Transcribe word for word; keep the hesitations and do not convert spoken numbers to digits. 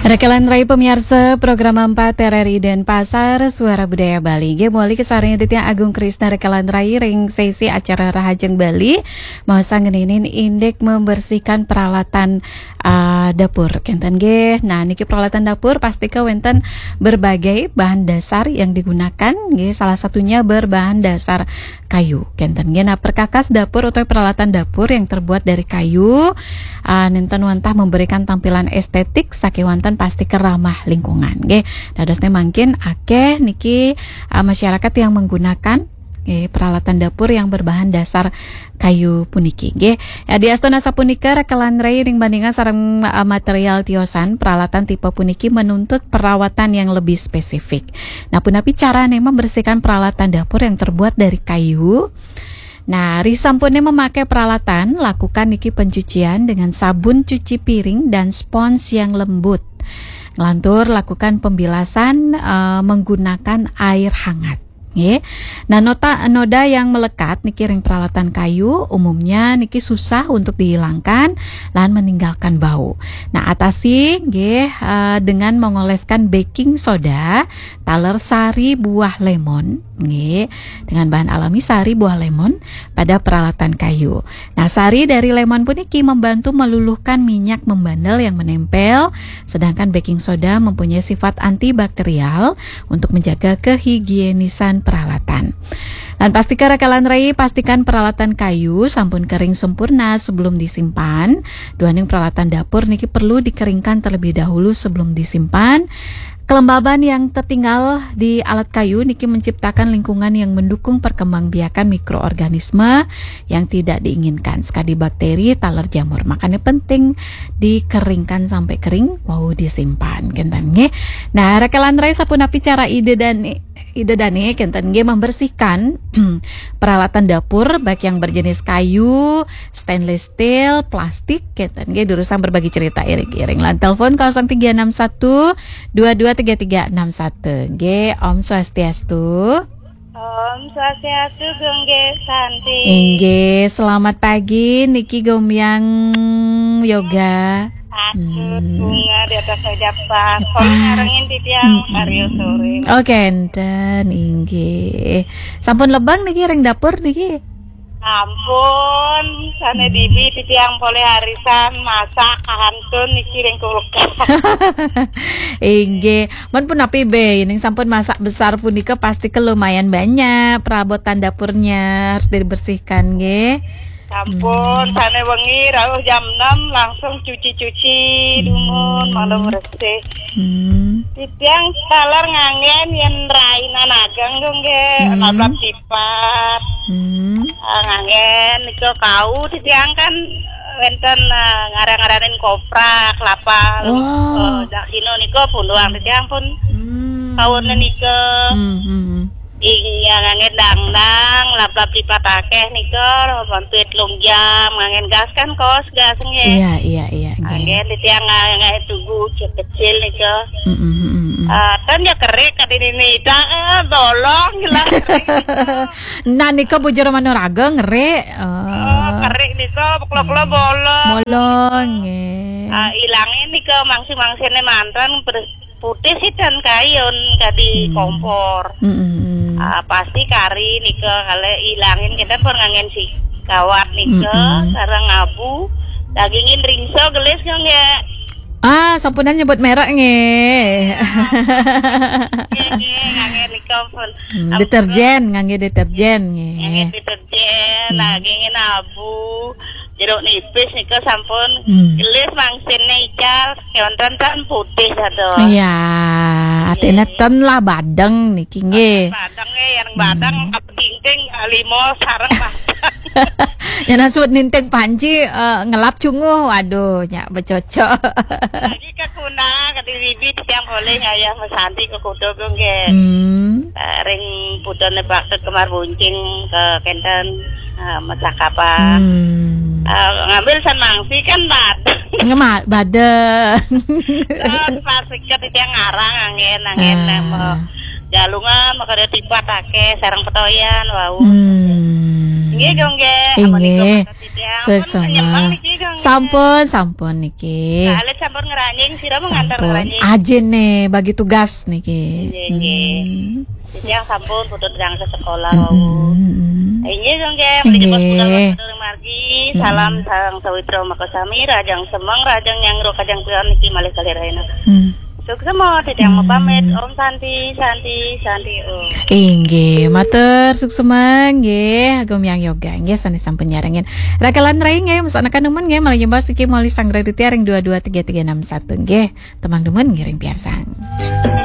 Rekelan rai pamiarsa program empat R R I Denpasar, Suara Budaya Bali. Nggih, mawali kasarengin Ditya Agung Krisna Rekelan rai ring sesi acara Rahajeng Bali. Maos ngeninin indik membersihkan peralatan, ah, dapur. Kenten nggih. Nah, niki peralatan dapur pastika wenten berbagai bahan dasar yang digunakan. Nggih, salah satunya berbahan dasar kayu. Kenten nggih. Nah, perkakas dapur atau peralatan dapur yang terbuat dari kayu, ah, nenten wantah memberikan tampilan estetik sakewanten pastika ramah lingkungan. Nggih. Dadosne mangkin akeh niki, ah, masyarakat yang menggunakan, nggih, peralatan dapur yang berbahan dasar kayu puniki. Nggih. Ya, diastun asapunika rekelan rai ring bandingan sareng, ah, material tiosan, peralatan tipe puniki menuntut perawatan yang lebih spesifik. Nah, punapi carane membersihkan peralatan dapur yang terbuat dari kayu? Nah, risampune memakai peralatan, lakukan niki pencucian dengan sabun cuci piring dan spons yang lembut. Ngelantur lakukan pembilasan, eh, menggunakan air hangat. Nggih. Nah, nota, noda yang melekat niki ring peralatan kayu, umumnya niki susah untuk dihilangkan lan meninggalkan bau. Nah, atasi nggih, eh, dengan mengoleskan baking soda, taler sari buah lemon, nggih, dengan bahan alami sari buah lemon pada peralatan kayu. Nah, sari dari lemon puniki membantu meluluhkan minyak membandel yang menempel, sedangkan baking soda mempunyai sifat antibakterial untuk menjaga kehigienisan peralatan. Lan pastika rekelan rai, pastikan peralatan kayu sampun kering sempurna sebelum disimpan. Duaning peralatan dapur niki perlu dikeringkan terlebih dahulu sebelum disimpan. Kelembaban yang tertinggal di alat kayu niki menciptakan lingkungan yang mendukung perkembangbiakan mikroorganisme yang tidak diinginkan, sekadi bakteri, taler jamur. Makanya penting dikeringkan sampai kering, wau disimpan, kenten nggih. Nah, rekelan rai, sapunapi cara Ida Dani, Ida Dani kenten nggih membersihkan peralatan dapur, baik yang berjenis kayu, stainless steel, plastik, kenten nggih. Durusang berbagi cerita iring-iring lan telepon kosong tiga enam satu dua dua tiga tiga enam satu. Nggih, Om Swastiastu. Om Swastiastu, Gung Nggih Santi. Inggih, selamat pagi niki Gomyang Yoga. Aduh, Hmm. Bunga di atas meja pas. Kalau Pas. Nyarengin di tiang, Hmm. Mario sore. Oke, enten, inggih. Sampun lebeng niki ring dapur niki? Ampun, sane Hmm. Bibi di tiang polih arisan, masak, kahantun niki ring kulkas. Inggih. Mun punapi be, ning sampun masak besar punika pastika lumayan banyak perabotan dapurnya harus dibersihkan, nggih. Sampun, Hmm. Sane wengi rauh jam enam langsung cuci-cuci, Hmm. Dumun, maklum resik. Hmm. Titiang taler nganggen yen rainan ageng, Gung, nggih. Hmm. Lablab tipat. Hmm. Ah, nganggen nika kau titiang kan wenten, ah, ngarang-ngaranin kopra, kelapa, Wah. Eh, dak dino nika punduang titiang pun Hmm. Kaune nika. Hmm, hmm, hmm. Iya, nganggen dangdang, lablab tipat akeh nika, mampir telung jam, nganggen gas kan kos gas nggih. Iya, iya, iya, nggih. Nganggen titiang nganggen tugu kecil nika. Hmm, hmm, hmm, hmm. Ah, ten ya kerik kadi nini, dah, eh, bolong, jelas kerik nika. Nah, nika bujur manuraga ngerik. Oh, Eh. Kerik nika, kelo-kelo Hmm. Bolong. Bolong, nggih. Ah, ilangin nika mangsi-mangsine manten, beres-, putih sih dan kayun kadi Hmm. Kompor. Hmm, hmm, hmm. Ah, pasti kari nika kale ilangin kita pun nganggen si kawat nika, Hmm, hmm. Sareng abu. Dagingin ringso gelis nggih. Ah, sampunan nyebut merek nggih. Nggih, nggih, ngangge nika pun. Hmm, Ampun. Deterjen, ngangge deterjen nggih. Ngangge deterjen, Hmm. Dagingin abu, jeruk nipis nika sampun Hmm. Gelis mangsine ical, keonten tan putih satu. Iya, artine Nggih. Ten lah badeng niki nggih. Badeng nggih, yang badeng Hmm. Apa dinting limo sareng badeng. Yen sebut ninting panci, eh, ngelap cunguh, waduh, nyak becocok. Lagi ke kuna, ke diri tiang boleh ngayah mesanti ke kudo nggih. Hmm. Eh, ring putune bakte kemar buncing ke kenten, eh, mesakapa. Hmm. Eh, ngambil san mangsi kan badeng. Ngema-, badeng. Terus pas iket tiang ngarang angin, angin Ah. Mau galungan, makanya tipat akeh, sareng petoyan, wau. Hmm. Nggih, Gung, nggih. Inggih. Ampun, niki, Gung, nggih. Sampun, sampun niki. Nah, alit sampun ngeranjing, sira mau ngantar Sampun. Ngeranjing. Ajin nih bagi tugas niki. Inggih, inggih. Hmm. Titiang sampun putut gang ke sekolah Mm, wau. mm, mm. Inggih, Gung, nggih. Inggih. Mriki pun margi. Salam sang sawitra makasami, rajang semeng, rajang nyangro, kajang kuyon niki malih kalih rahina. Hmm. Suksema, titiang mapamit. Om Santi, Santi, Santi Om. Inggih, matur suksema nggih, Agung Yang Yoga nggih sanes sampun nyarengin. Rakalan rai nggih, masa neka nemen nggih, malih nyembas niki malih sang Raditya ring dua dua tiga tiga enam satu nggih. Temang demen ngiring piarsang.